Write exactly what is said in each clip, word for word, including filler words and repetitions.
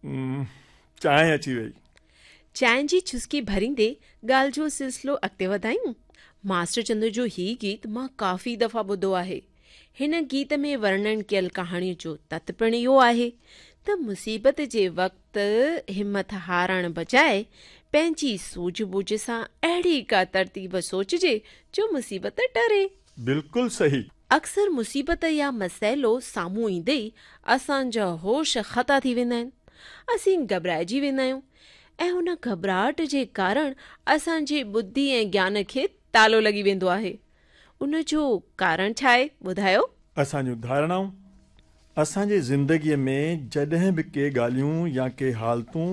چانهه اچي وئي. چانهه جي چسڪي ڀريندي ڳالهه جو سلسلو اڳتي وڌايون. ماسٽر چندر جو هي گيت مان ڪافي دفعا ٻڌو آهي. هن گيت ۾ ورڻن ڪيل ڪهاڻيء جو تت پڻ اهو آهي ته مصيبت جي وقت همٿ هارڻ بجاءِ پنهنجي سوجهه ٻوجهه سان اهڙي ڪا ترتيب سوچجي جو مصيبت ٽري. بلڪل صحيح. اڪثر مصيبت يا مسئلو سامهون ايندي ئي اسان جا هوش خطا ٿي ويندا آهن. اسين گهٻرائجي ويندا آهيون ۽ ان گهٻراهٽ جي ڪارڻ اسان جي ٻڌي ۽ گيان کي تالو لڳي ويندو آهي. ان جو ڪارڻ ڇا آهي ٻڌايو؟ اسان جون ڌارڻائون. اسان جي زندگيء ۾ جڏهن به ڪي ڳالهيون يا ڪي حالتون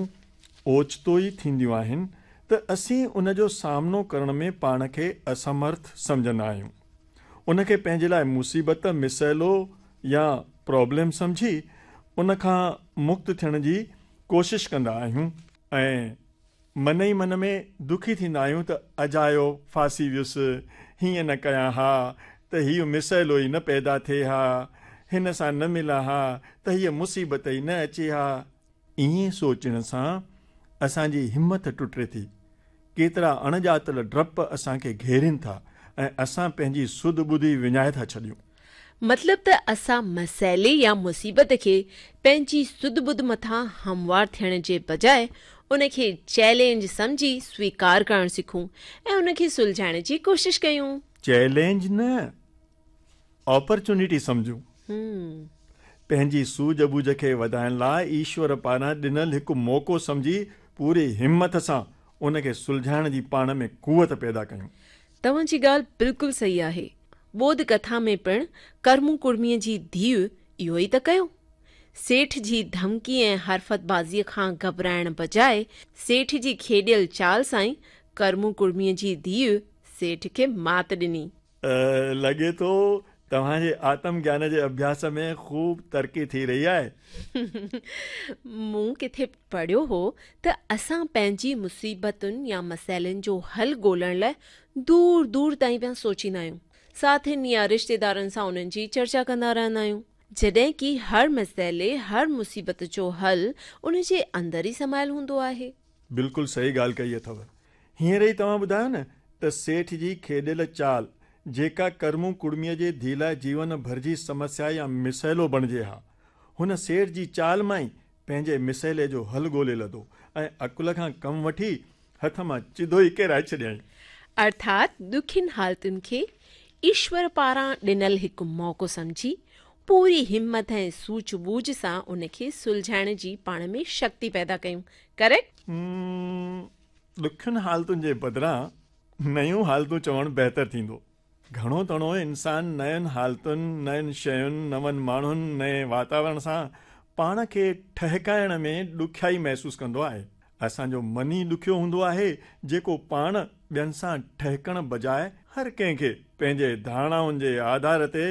اوچتو ئي ٿينديون آهن ته اسين ان جو سامنو ڪرڻ ۾ پاڻ کي اسمرٿ سمجهندا آهيون. ان کي پنهنجي لاءِ مصيبت، مسئلو يا پرابلم سمجهي ان کان مڪت ٿيڻ جي ڪوشش ڪندا آهيون ۽ من ئي من ۾ دکي ٿيندا آهيون ته اجايو ڦاسي ويس، هيئن نه ڪيان ها ته هيءُ مسئلو ئي نه پيدا ٿئي ها، هن سان نه ملان ها ته هيءَ مصيبت ئي نه اچي ها. ائين سوچڻ سان اسان جي همٿ ٽٽي ٿي. ڪيترا اڻڄاتل ڊپ اسان کي گهيرين ٿا ۽ اسان پنهنجي سڌ ٻڌي وڃائي ٿا ڇڏيون. مطلب ته اسان مسئلي يا مصيبت کي پنهنجي سڌ ٻڌ مٿان هموار ٿيڻ جي بجاءِ ان کي چئلينج سمجهي سويڪار ڪرڻ سکون ۽ ان کي سلجهائڻ جي ڪوشش ڪيون. چئلينج نه، اپرچونٽي سمجهون. پنهنجي سوجهه ٻوجهه کي وڌائڻ لاءِ ايشور پاران ڏنل هڪ موقعو سمجهي پوري همٿ سان ان کي سلجهائڻ جي پاڻ ۾ قوت پيدا ڪيون. توهان جي ڳالهه بلڪل صحيح آهي. ٻوڌ ڪٿا ۾ پڻ ڪرمو ڪڙميءَ جي ڌيءُ اهو ئي ته ڪيو. سيٺ جي ڌمڪي ۽ حرفتبازيءَ کان گهٻرائڻ بجاءِ سيٺ جي کيڏيل چال سان ئي ڪرمو ڪڙميءَ جي ڌيءُ سيٺ کي مات ڏني. لڳي ٿو توهان جي آتم گيان جي اڀياس ۾ خوب ترقي ٿي رهي آهي. مون ڪٿي پڙهيو هو ته اسان پنهنجي مصيبتن يا مسئلن جو حل ڳولڻ لاءِ دور دور تائين پيا سوچيندا آهيون. ساٿين يا رشتيدارن سان انهن جي چرچا ڪندا رهندا آهيون، جڏهن ڪه هر مسئلي، هر مصيبت جو حل ان جي اندر ئي سمايل هوندو آهي. بلڪل صحيح ڳالهه ڪئي اٿو. هينئر ئي توهان ٻڌايو نه ته سيٺ جي کيڏيل چال جيڪا ڪرمو ڪڙميءَ جي ڌيءَ لاءِ جيون ڀر جي سمسيا يا مسئلو بڻجي ها، هن سيٺ جي چال مان ئي پنهنجي مسئلي جو حل ڳولي لڌو ۽ عقل کان ڪم وٺي هٿ مان چڌو ئي ڪيرائي ڇڏيائين. ارٿات ڏکين حالتن کي ايشور پاران ڏنل هڪ موقعو سمجهي پوري همٿ ۽ سوجهه ٻوجهه سان ان کي سلجهائڻ جي پاڻ ۾ شڪتي پيدا ڪيون. ڪريڪٽ؟ ڏکين حالتن جي بدران نيون حالتون چوڻ بهتر ٿيندو. گهڻو تڻو انسان نين حالتن، نين شين، نون ماڻهن، نئين واتاورڻ سان پاڻ کي ٺهڪائڻ ۾ ڏکيائي محسوس ڪندو آهي. اسان جو من ئي ڏکيو هوندو آهي جيڪو پاڻ ٻين سان ٺهڪڻ بجاءِ هر ڪنهن کي پنهنجي ڌارڻائن جي آڌار تي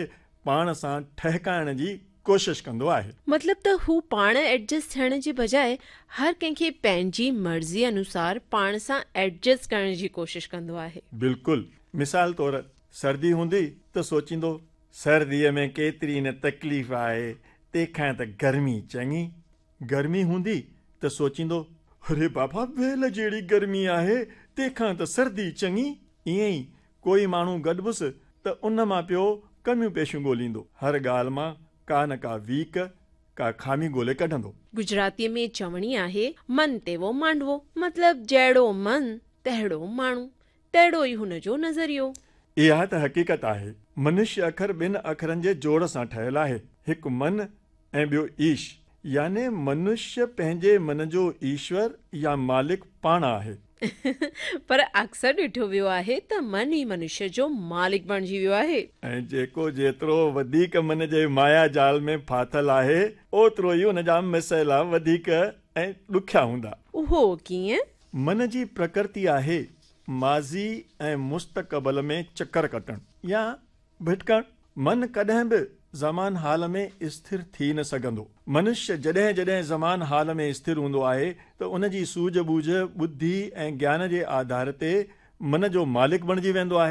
پاڻ سان ٺهڪائڻ جي ڪوشش ڪندو آهي. مطلب ته هو پاڻ ايڊجسٽ ٿيڻ جي بجاءِ هر ڪنهن کي پنهنجي مرضي انوسار پاڻ سان ايڊجسٽ ڪرڻ جي ڪوشش ڪندو آهي. بلڪل. مثال طور سردي هوندي ته سوچيندو سرديءَ ۾ ڪيتري نه تڪليف آهي، تنهن کان ته گرمي چڱي. گرمي هوندي ته سوچيندو اري بابا ويل جهڙي گرمي آهي، تنهن کان ته سردي چڱي. ائين ئي ڪوئي ماڻهو گڏبس ته ان مان پيو ڪميون پيشيون ڳولهيندو، هر ڳالهه مان ڪا نه ڪا ويڪ، ڪا خامي ڳولهي ڪڍندو. گجراتيءَ ۾ چوڻي آهي من تيوو مانڊوو، مطلب جهڙو من تهڙو ماڻهو، تهڙو ئي هن جو نظريو. اها ته حقيقت آهي. منشيه اکر ٻن اکرن جي جوڙ سان ٺهيل آهي، هڪ من ۽ ٻيو ايش، يعني منشيه پنهنجي من جو ايشور يا مالڪ پاڻ آهي. پر اڪثر ڏٺو ويو آهي ته من ئي منشيه جو مالڪ بڻجي ويو آهي. ۽ جيڪو جيترو وڌيڪ من جي مايا جال ۾ ڦاٿل آهي اوترو ئي ان جا مسئلا وڌيڪ ۽ ڏکيا هوندا. اهو ڪيئن؟ من جي پرڪرتي آهي ماضي ۽ مستقبل ۾ چڪر ڪٽڻ يا ڀٽڪڻ. من ڪڏهن به زمان حال ۾ اسٿر ٿي نه سگهندو. منشيه جڏهن جڏهن زمان حال ۾ اسٿر هوندو آهي ته ان جي سوجهه ٻوجهه، ٻڌي ۽ گيان جي آڌار تي من جو مالڪ بڻجي ويندو آهي.